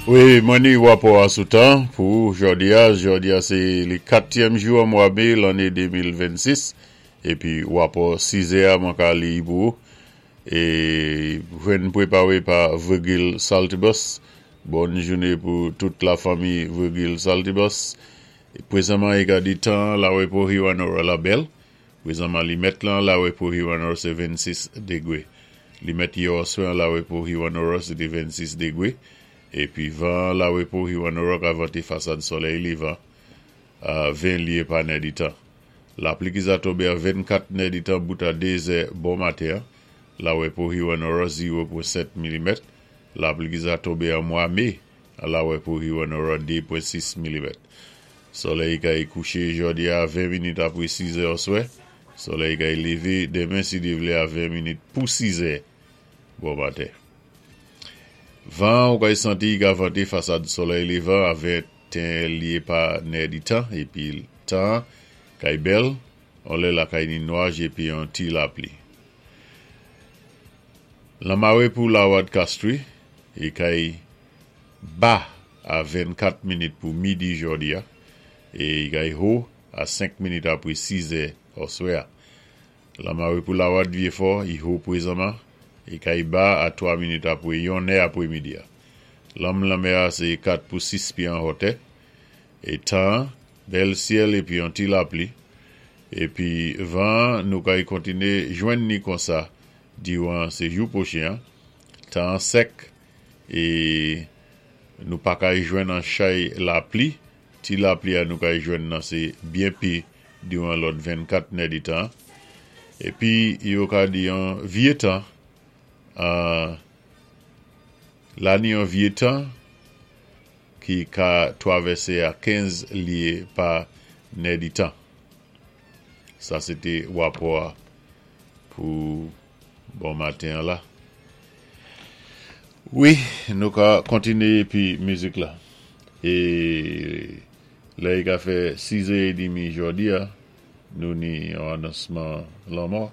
Wi, mwen ni wapò a sou tan pou jòdi a. Jòdi a sé li katyèm jou an mwa mé lanné 2026. Épi wapò sizè a mwen ka li pou ou. É jwenn pwéparé pa Virgil Saltibus. Bòn jouné pou tout lafanmi Virgil Saltibus. Pwézanman i ka di tan an Larepo Hewanorra la bèl. Pwézanman li mèt lan Larepo Hewanorra sé 26 dégwé. Li mèt yè òswè an Larepo Hewanorra sé té 26 dégwé. Épi van an Larepo Hewanorra ka vanté fasad solèy lévan a 20 lyé pa nèditan. Lapli ki za tonbé a 24 nèditan bout a 2 zè bon maten an Larepo Hewanorra 0.7 milimèt. Lapli ki za tonbé an mwa mé an Larepo Hewanorra 2.6 milimèt. Solèy kay kouché jòdi a 20 minit apwé 6 zè òswè. Solèy kay lévé denmen si Dye vlé a 20 minit pou 6 zè bon maten. Van an ou kay santi i ka vante fasad solèy lévan a 21 lyé pa nèditan épi tan an kay bèl, on lè la kay ni nwaj épi on ti lapli. Lanmare pou Lawad Castries i kay ba a 24 minit pou midi jòdi a é i kay ho a 5 minit apwé 6 zè òswè a. Lanmare pou Lawad Vyefò i ho pwézanman i kay ba a 3 minit apwé yon nè apwé midi a. Lanm lanmè a sé 4 pou 6 pyé an hòtè é tan an bèl syèl épi yon ti lapli épi van an nou kay kontiné jwenn ni konsa diwan sé jou pwochen an. Tan an sèk é nou pa kay jwenn an chay lapli, ti lapli a nou kay jwenn nan sé byen pi diwan lòt 24 nèditan an. Épi yo ka di yon vye tan an la ni yon vye tan ki ka twavèsé a 15 lye pa nèditan. Sa sé té wapò a pou bon maten an la. Wi, nou ka kontiné épi mizik la. É lè i ka fè 6 è édmi jòdi a, nou ni yon anonsman lanmò.